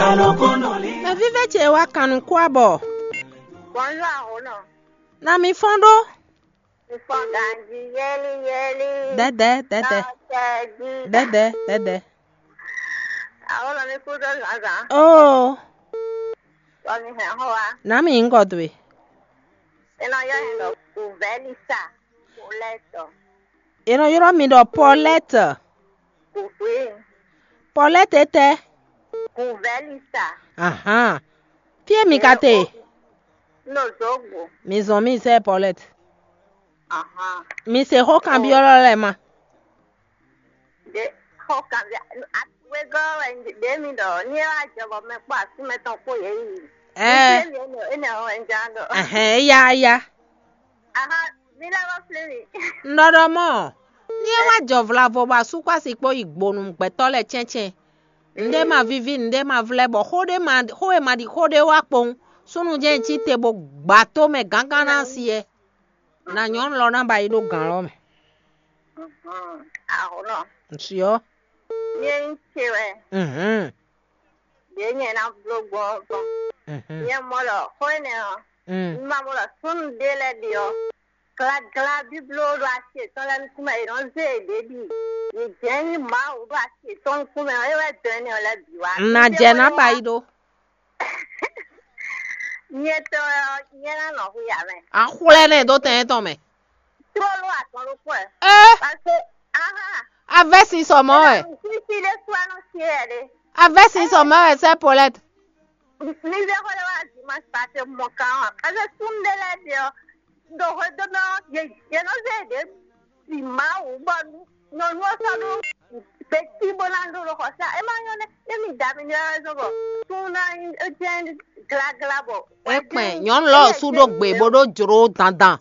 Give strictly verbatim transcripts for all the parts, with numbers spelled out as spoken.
Mɛ vívɛ́ ce wá kan nukún abɔ. Bonjour Ahono. Na mi fɔ́n ɖó. Mi fɔ́n ganji yɛli yɛli. Dɛdɛ dɛdɛ. Tɔtɛji. Dɛdɛ dɛdɛ. Ahono mi kú dó zǎnzǎn. Oo. Sɔ mi hɛn xó wa. Na mi ŋgɔ dwe. E nɔ yɔ yɛn ɖɔ Kuvɛlisa. Polɛtɔ. E nɔ ylɔ́ mi ɖɔ Pɔlɛ́t. Kuvi. Pɔlɛ́t etɛ́? Kuvɛlisa. Ahan. Fí e mi ka te? No zogbo. Mi zɔn mi zɛ Pɔlɛ́t. Ahan. Mi se xó kanbyɔ́lɔ lɛ́ɛ ma. De xó kanbyɔ́. Wegɔ́ wɛ ɖě mi ɖɔ ní é wá jɛ bɔ mɛ kpó asú mɛ tɔn kpó yě yi. Ɛɛ. Ní mi énɛ́ énɛ́ ɔ́ wɛ un ján ɖɔ. Ɛhɛn, éyá éyá. Aha, mi lɛ́ wá flí mi. Un ɖɔ ɖɔ mɔ́, ní é wá jɔ vlavo bɔ asú kpó asi kpó yi gbonu gbɛtɔ́ lɛ́ɛ cɛ́ncɛ́n. Nǔɖé ma víví, nǔɖé ma vlɛ́ bɔ xó ɖé ma xó e ma ɖi xó ɖé wá kpowun. Súnnu jɛ́n cí te bó gbǎ tó mɛ gángan ná asi ɛ. Na nyɔ̌nu lɔ ná ba yi ɖó gǎn lɔ mɛ. Ahunɔ. Nsyɔ. Nyɛ nyí ce wɛ. Mhm. Ɖě nyɛ ná bló gbɔn ɔ́ gbɔn. Mhm. Nyɛ mɔ ɖɔ xó énɛ́ ɔ́, Mm. Un ma mɔ ɖɔ súnnu ɖé lɛ́ɛ ɖe ɔ́, glagla bíbló ɖo asi yětɔn lɛ́ɛ nukún mɛ, yě nɔ zé yěɖée ɖi. Yě jɛ́n nyí Mawu ɖo asi yětɔn nukún mɛ ɔ́, é wɛ dɔn énɛ́ ɔ́ lɛ́ɛ bǐ wá. Un ná jɛ ná ba yi ɖó. Nyɛ tɔn ɔ́, nyɛ ná nɔ hu ya mɛ. A xwlɛ́ nɛ dó tɛn tɔn mɛ. Tlóló azɔn ɖokpó ɛ. Ɛ. Parce que aha. A vɛ́ sin sɔ mɔ̌ wɛ. Sisi ɖé sú anɔ sie ɛ ɖe. A vɛ́ sin sɔ mɔ̌ wɛ sɛ́ Paulette. Mi vɛ xɔ ɖe wá dimanche parce que mɔ kan ɔ. Parce que súnnu ɖé lɛ́ɛ ɖe ɔ, ɖo hwedó mɛ ɔ, yě yě nɔ zé ɖě bi Mawu bɔ nyɔ̌nu ɔ́ sɔ́ ɖó gbětí bó ná ɖó ɖo xɔsá. É má nyɔ́ nɛ́, é mi da mi ɖe wɛ zɔn bɔ súnnu ná nyí é jɛ́n glagla bɔ. É kpɛn nyɔ̌nu lɔ sú ɖó gbe bó ɖó jló dandan.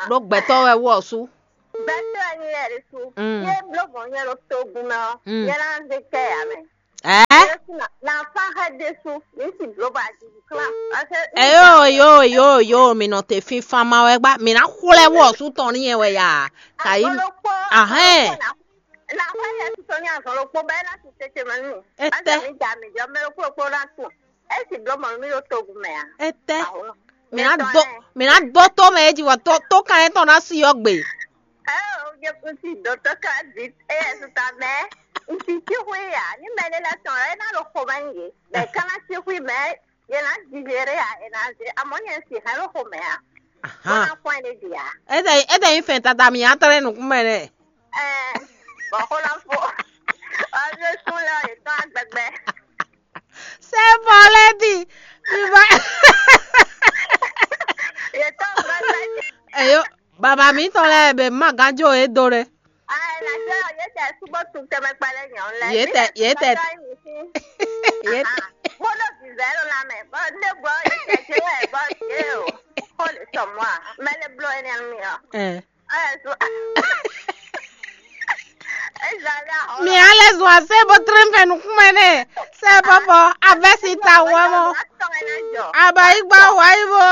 Ɖó gbɛtɔ́ wɛ wú ɔ́ sú. Gbɛtɔ́ wɛ nyí yɛ ɖé sú. Mm. Yé bló gbɔn nyɛ ɖo togun mɛ ɔ́, Mm. Nyɛ ná zé kɛ ya mɛ. Ɛ? Yé sú na na fa xɛ ɖé sú, mi sì bló ba jí klá. Ɛ yo yo yo yo, mi nɔ te fínfán ma wɛ gbá, mi ná xwlɛ́ wú ɔ́ sú tɔn n'i yɛ wɛ ya. Kayi. Azɔn ɖokpó. Ahɛn. Azɔn ɖokpó na na xɔ yɛ tutɔ ní azɔn ɖokpó bɛ ná ti tete mɛ nù. Etɛ. Azɔn mi da mi jɔ mɛ ɖokpó ɖokpó ná tún. Esi bló mɔ mi ɖo togun mɛ a? Etɛ. Awo. Mi ná do mi ná do tó mɛ eji wɔ tó tó kan yɛ tɔn ná si yɔ gbe. Ɛ o jɛ kusi dɔtɔ ka di eye tuta mɛ. Nti ti hu ya ni mɛ ne la tɔn ɛ na ɖo xɔ ma nyi ye. Mɛ kana ti hu mɛ ye na di yere ya e na ze amɔ nyɛ si hã ɖo xɔ mɛ a. Ahan. Wana kɔn ne di ya. Ete ete yi fɛn tata mi atrɛ nukun mɛ nɛ. Ɛ bɔ xɔ na fo. Ɔ mi sun lɛ o ye tɔn agbɛgbɛ. C'est bon, lady. Viva. Eyo, baba mi tɔn lɛ be ma ganjo e do ɖe. Ye tɛ ye tɛ ye tɛ. Bolo bizarre la mɛ. Bon, ne bɔ ye tɛ je wɛ bɔ je o. Kole sɔmɔ a. Mɛ le blo ene mi o. Eh. Mi ale zun ase bo tre fɛ nukume ne. Se bɔbɔ avɛsi ta wɛ mɔ. Aba igba wa ibo.